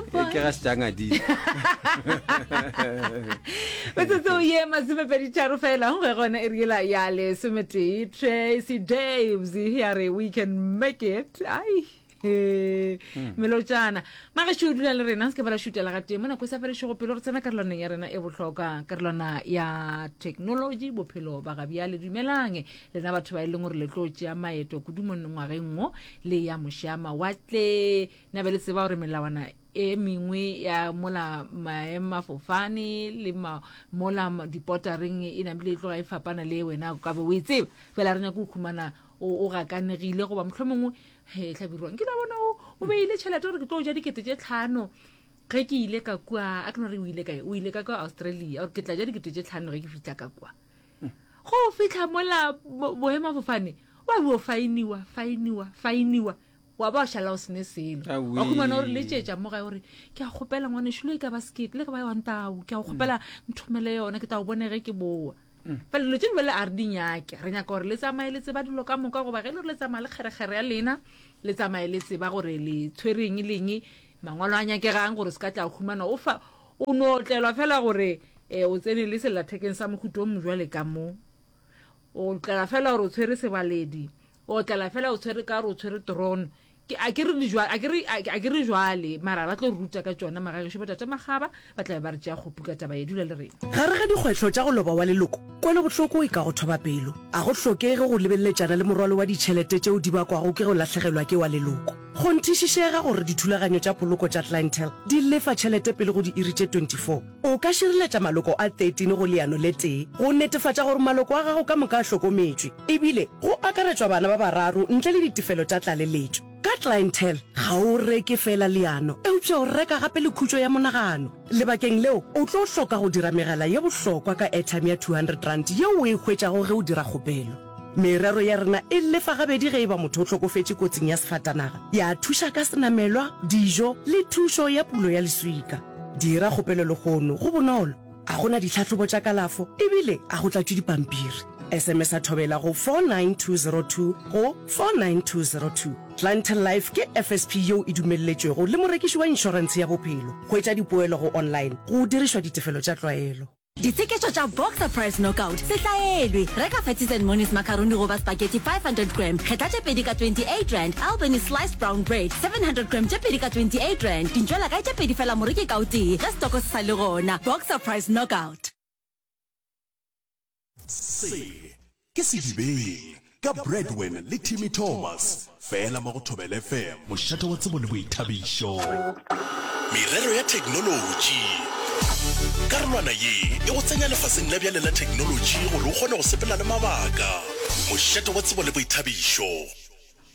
Ke ga setšangadile. Metsotso ye masomepeditharo fela go gona e riela ya lesometee Tracy Daves ya re we can make it. Ai. Hmm. melotšana magešo o dula le rena se ke ba la šutela ga tee mo nako e sa felešego pelo re tsena karolwaneng ya rena e bohlokwa karolwana ya technology bophelo ba gabjale dumelang lena batho ba e leng gore le tlo tšea maeto kudu mo ngwageng wo le ya mošama watle Na be le tseba gore melawana e mengwe ya mola maemafofane le ma, mola dipotareng e namile e tloga e fapana le wena o ka be o e tseba? Fela re nyake go khumana o, o gakanegile goba mohlomongwe he hlabirwa nkile wa bona o, o beile tšhelete gore ke tlo ja dikete tše tlhano ge ke ile ka kua a ke no re o ile kae o ile ka kua Australia gore ke tla ja dikete tše tlhano ge ke fihla ka kua go fihla mola boemafofane wa bo fainiwa fainiwa fainiwa wa ba wa šala o sene selo wa khumana gore letšetša mo gae gore ke a kgopela ngwanešu le e ka ba sekete le ka ba wantao ke a go kgopela mm. nthomele yona ke tla go bone ge ke boa mm. fela dilo tse dingwe le a re di nyake re nyaka gore le tsamaye le tseba dilo ka moka goba ge e le gore le tsamaya le kgerekgere ya lena le tsamaye le tseba gore le tshwereng leng mangwalo a nyakegang gore se ka tla humana o fa o no tlelwa fela gore um o tsene le sellathekeng sa mohuto o mojwale ka mo O tlela fela gore o tshwere sebaledi. O tlela fela o tshwere ka gore o tshwere drone. Ke a ke re di jwa a ke re a ke re jwale mara ba tlo ruta ka tšona magagešu bo tate Makgaba ba tla be ba re tšea kgopu ka taba ye dula le rena. Gare ga dikgwetlho tša go loba wa leloko, kwelobohloko e ka go thoba pelo. A go hlokege go lebeleletšana le morwalo wa ditšhelete tšeo di bakwago ke go lahlegelwa ke wa leloko. Kgonthišišega gore dithulaganyo tša poloko tša Clientele di lefa tšhelete pele go diiri tše 24. O ka šireletša maloko a 13 go leano le tee go netefatša gore maloko a gago ka moka a hlokometšwe, ebile go akaretšwa bana ba bararo ntle le ditefelo tša tlaleletšo. Ka Clientele, ga o reke feela leano, eupša o reka gape le khutšo ya monagano. Lebakeng leo, o tlo hloka go dira megala ye bohlokwa ka airtime ya R200 yeo o e hwetšago ge o dira kgopelo. Merero ya rena e lefa gabedi ge e ba motho o hlokofetše kotsing ya sefatanaga, ya thuša ka senamelwa, dijo le thušo ya pulo ya leswika. Dira kgopelo lehono, go bonolo, ga go na ditlhahlobo tša kalafo ebile ga go tlatšwe dipampiri. SMS-a Thobela go 49202 go 49202. Clientele Life ke FSP yeo e dumelletšwego le morekiši wa inšorentshe ya bophelo. Hwetša dipoelo go online go dirišwa ditefelo tša tlwaelo. Ditsheketšo tša Boxer Price Knockout se hlaelwe. Reka Fatties and Monies macaroni goba spaghetti 500 gram, kgetha tše pedi ka R28, Albany sliced brown bread 700 gram tše pedi ka R28, dintšwelakae tše pedi fela moreki ka o tee ge setoko se sa le gona. Boxer Price Knockout. Se ke Sedibeng ka Bradwin le Timmy Thomas fela mo go Thobela FM. Mošate wa tsebo le boithabišo. Merero ya theknolotši. Karolwana ye e go tsenya lefaseng la bjale la theknolotši gore o kgone go sepela le mabaka. Mošate wa tsebo le boithabišo.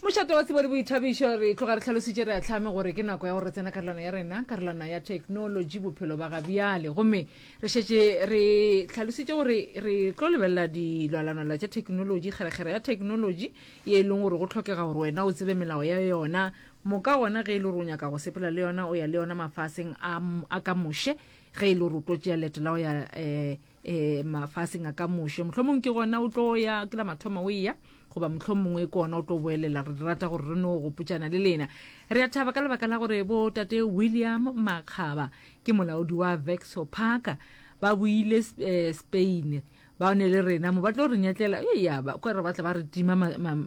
Mošate wa tsebo le boithabišo, re tloga re hlalositše re ahlame gore ke nako ya gore re tsena karolwana ya rena, karolwana ya theknolotši, bophelo ba gabjale. Gomme re šetše re hlalositše gore re tlo lebelela dilwalanwala tša theknolotši, kgerekgere ya theknolotši ye e leng gore go hlokega gore wena o tsebe melao ya yona. Moka gona ge e le gore o nyaka go sepela le yona, o ya le yona mafaseng a, a ka moše, ge e le gore o tlo tšea leeto la go ya um um mafaseng a ka moše mohlomong ke gona o tlo ya ke la mathomo o eya goba mohlomongwe ke gona o tlo boelela re rata gore re no gopotšana le lena re a thaba ka lebaka la gore bo tate william makgaba ke molaodi wa vexo parker ba boile eh, spain ba ne le rena mo ba tlo re nyatlela e ya ba kwa re batla ba re tima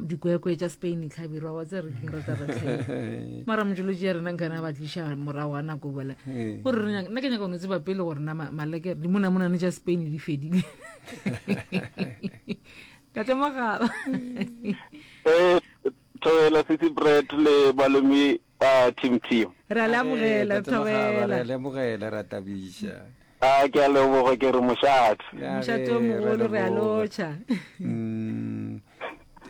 dikwekwe tša spain tlhabirwa wa tse re keng re tla re tlhaile mara mojolotši ya rena nkana ba tliša morago ga nako bola gore re nyaka nna ke nyaka go no tseba pele gore na maleke dimonamonane tša spain di fedile tate magaba eh thobela sisi bread le balemi ba team team re a le amogela thobela re a le amogela ra tabiša a ke a leboga ke re mošate mošate o mogolo re a lotšha mm.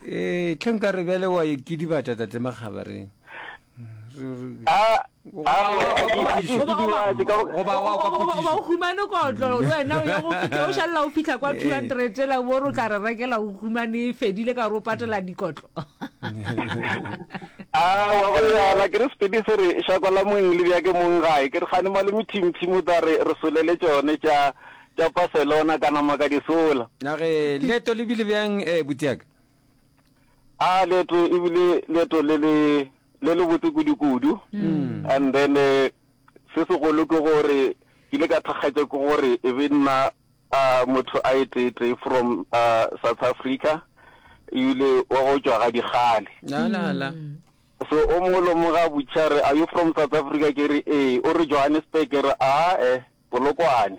ee tlhe nka re bjale wa ikidibatša tate Makgaba re goba o humane kotlo le wena o ye go fitlha o šalela o fitlha kwa 200 tsela bo re o tla re rekela o humane e fedile ka gore o patela dikotlo awa go yana ke re sepedi se re šako la moeng le bja ke mong gae ke re gane malome team team o tla re re solele tšone tša tša Barcelona ka nama ka di sola. Na ge leeto le bile bjang eh, butiaka? A leeto e bile leeto le le le le botse kudu-kudu. Mm. And then eh, Se segolo ke gore ke ile ka thakgatša ke gore e be nna motho a e tee-tee from South Africa ebile wa go tšwa ga Dikgale. La la la. So o mongwe le o mongwe ga a botšiša a re, Are you from South Africa? Ke re, Ee. O re Johannesburg? Ke re, Aa-e, Polokwane.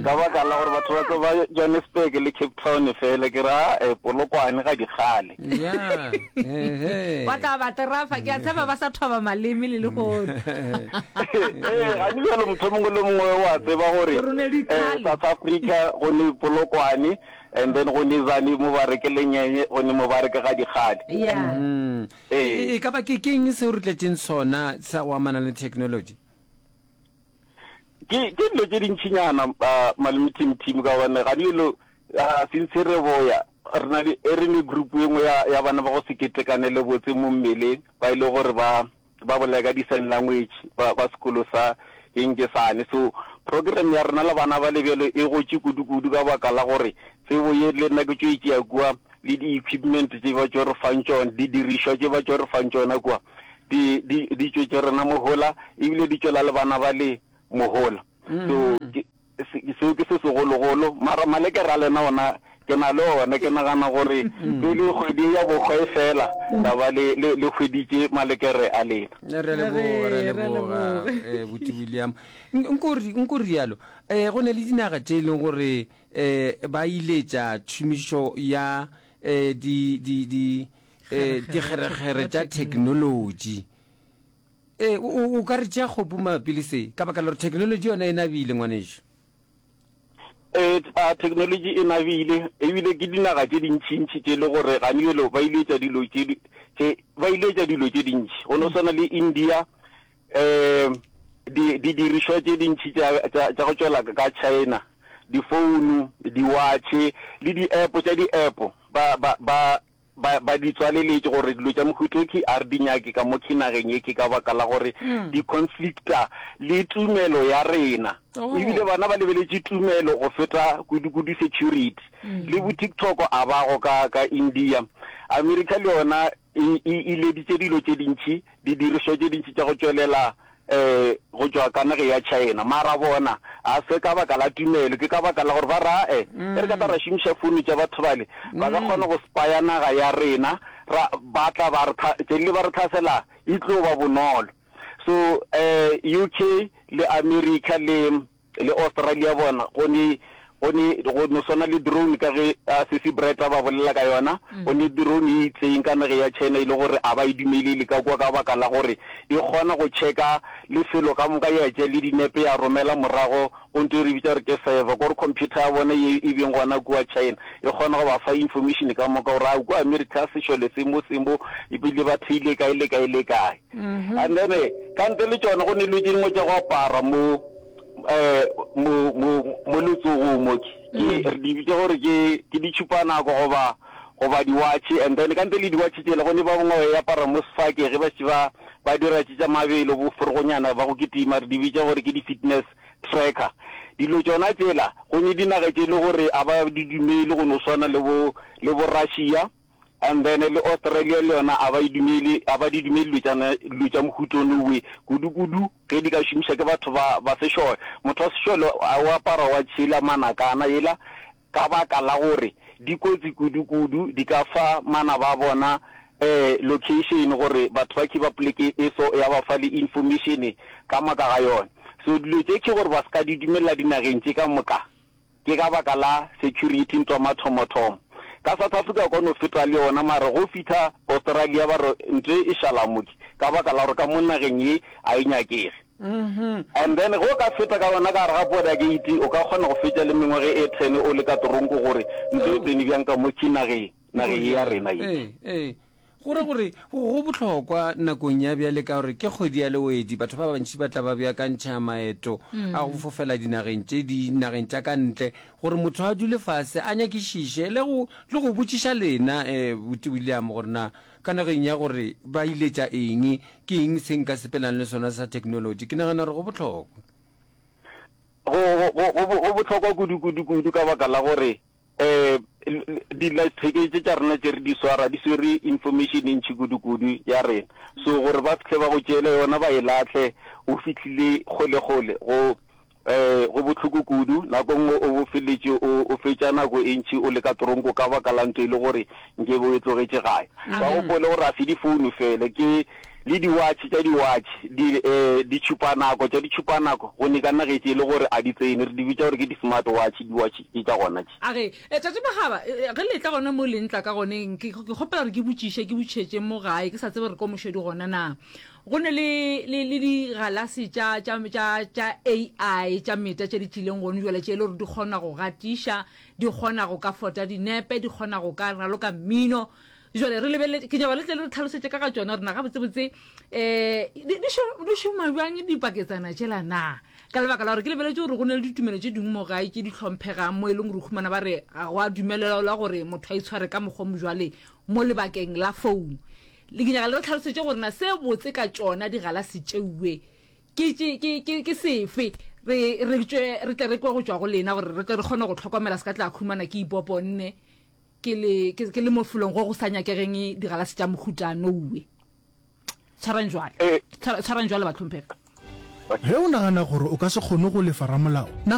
Ka baka la gore batho ba tseba Johannesburg le Cape Town fela, ke re, Aa-e, Polokwane ga Dikgale. Ya, ehe. Ba tla ba terafa, ke a tshepa ba sa thoba maleme le lehono. Ee, gane bjalo motho mongwe le mongwe wa tseba gore Gore o ne eh, dikhale. South Africa go ne Polokwane and then go ne Zane mo ba re ke Lenyenye, go ne mo ba re ke ga Dikgale. Ya. Mm. Ee. E, e ka ba ke keng seo re tletšeng sona sa go amana le technology? Ke ke dilo tše dintšinyana uh, malome Tim Tim ka gobane ga dilo uh, since re boya re na le e re ne group e nngwe ya, ya bana ba go se ketekanele botse mo mmeleng ba e le gore ba ba bolela ka di-sign language ba, ba sekolo sa eng ke sane. So program ya rena le bana ba le bjalo e gotše kudu-kudu ka baka la gore tsebo ye le nna ke tšo e tšea kua le di-equipment tše ba tšo re fang tšona, didirišwa tše ba tšo re fang tšona kua di, di, di tšwetše rena mohola ebile di tšwela le bana ba le mohola. So ke, se, seo ke se segologolo. Mara malekere a lena ona ke na le ona, ke nagana gore pele kgwedi ya bohwa e fela la ba le, le, le hweditše malekere a lena. Re a leboga, re a leboga, eh, Buti William. Nko ri, nko rialo, eh, go ne le dinaga tše e leng gore eh, ba iletša tšhomišo ya eh, di, di, di, eh, dikgerekgere tša theknolotši. Ee, o, o, o ka re tšea kgopu mabapi le se, ka baka la gore theknolotši yona e nabile, ngwanešu. Ee, a theknolotši e nabile, ebile ke dinaga tše dintšintši tše le gore gane bjalo ba iletša dilo tše, tše, ba iletša dilo tše dintši. Go no swana le India, um di, didirišwa tše dintši tša, tša, tša go tšwela ka China, difounu, diwatšhe, le di-app tša di-app, ba, ba, ba, Ba, ba di tswaleletše gore dilo tša mohuta o ke a re di nyake ka mo ke nageng ye ke ka baka la gore di conflicta le tumelo ya rena. Ebile bana ba lebeletše tumelo go feta kudu-kudu security. Le bo TikTok a ba go ka, ka India. America le yona e, e ileditše dilo tše dintši didirišwa tše dintši tša go tšwelela um go tšwa ka nageng ya China. Mara bona ga se ka baka la tumelo, ke ka baka la gore ba ra e ge re ka tla ra šomiša founu tša batho bale, ba ka kgona go spaya naga ya rena, ra ba tla ba re tšelile ba re tlhasela e tlo ba bonolo. So um UK le America le Le Australia bona go ne, go ne, go no swana le drone ka ge a Sisi Brett a ba bolela ka yona, go ne drone e itseng ka nageng ya China e le gore a ba e dumelele ka kua ka baka la gore e kgona go checka lefelo ka moka ya tšea le dinepe ya romela morago go nto e re bitša gore ke server, kore computer ya bona ye e beng gona kua China e kgona go ba fa information ka moka gore a kua America sešole se mo se mo ebile ba theile kae le kae le kae. And then ka ntle le tšona go ne dilo tše dingwe tša go apara mo um mo mo mo letsogong mo ke ke re di bitša gore ke ke ditšhupanako goba goba diwatšhe. And then ka ntle le diwatšhe tšela go ne ba bangwe ba e apara mo sefake ge ba šetše ba ba dira tše tša mabelo bo forogonyana ba go kitima re di bitša gore ke di-fitness tracker. Dilo tšona tšela go ne dinaga tše e le gore a ba di dumele go no swana le bo le bo Russia. And then le Australia le yona a ba e dumele, a ba di dumele dilo tša, dilo tša mohuta ono we, kudu-kudu ge di ka šomiša ke batho ba, ba sešole. Motho wa sešole a o apara wa tšhela manakana yela ka baka la gore di kotsi kudu-kudu, di ka fa manaba a bona um location gore batho ba ke ba poleke e so, ya ba fa le information ka moka ga yona. So dilo tše ke gore ba se ka di dumelela dinageng tše ka moka. Ke ka baka la security ntwa mathomothomo. Ka South Africa o ka no feta le yona mara go fihla Australia ba re ntwe e šala mo ke ka baka la gore ka mo nageng ye a e nyakege. And then ge o ka feta ka yona ka gare ga border gate o ka kgona go fetša le mengwaga e ten o le ka toronko gore ntwe e tsene bjang ka mo ke nageng nageng ye ya rena ye. Ee, ee. Go ra gore go bohlokwa nakong ya bjale ka gore ke kgwedi ya lewedi, batho ba bantši ba tla ba beakantšha maeto a go fofela dinageng tše dinageng tša ka ntle gore motho a dule fase a nyakišiše le go le go botšiša lena eh, Buti William gore na ka nageng ya gore ba iletša eng, ke eng se nka sepelang le sona sa technology. Ke nagana gore go bohlokwa. Go, go, go, go bohlokwa kudu, kudu, kudu ka baka la gore. Um dillathekeng tše tša rena tše re di swara di swere information e ntši kudu-kudu ya rena. So gore ba fihle ba go tšeele yona ba e lahle o fihlile kgole-kgole go um go bohloko kudu. Nako nngwe o bo feletše o o fetša nako e ntši o le ka toronko ka baka la nto e le gore nke be o e tlogetše gae. Ba gopole gore ga se difounu fela ke le diwatšhe tša diwatšhe, di um ditšhupanako tša ditšhupanako go ne ka nagetše e le gore a di tsene re di bitša gore ke di-smart watch diwatšhe tše tša gona tše. A re, E, Tate Magaba, e, e, ge le etla gona mo le ntla ka goneng, ke, ke kgopela gore ke botšiše, ke botšišetše mo gae, ke sa tsebe gore ko mošedi gona na. Go ne le, le, le digalase tša, tša, tša, tša AI tša meta tše di tlileng gone jwale, tše e le gore di kgona go gatiša, di kgona go ka fota dinepe, di kgona go ka raloka mmino. Jwale re lebelele, ke nyaka le tle le re tlhalosetše ka ga tšona gore na gabotsebotse um di, di, di šoma bjang dipaketsana tšela na. Ka lebaka la gore ke lebeletše gore go na le ditumelo tše dingwe mo gae tše di hlomphegang mo e leng gore o humana ba re ga go a dumelelwa gore motho a itshware ka mokgwa o mojwale mo lebakeng la founu. Le ke nyaka le re tlhalosetše gore na se botse ka tšona digalase tšeue ke, ke, ke, ke, ke sefe. Re, re tšwe, re tle re kwe go tšwa go lena gore re tle re kgone go hlokomela se ka tla khumana ke ipoponne ke le, ke, ke le mo felong go go sa nyakegeng digalase tša mohuta noue. Tshwarang jwale. Eh. Tshwarang jwale, bahlomphegi. Ge o nagana gore o ka se kgone go lefa ramolao, nagana.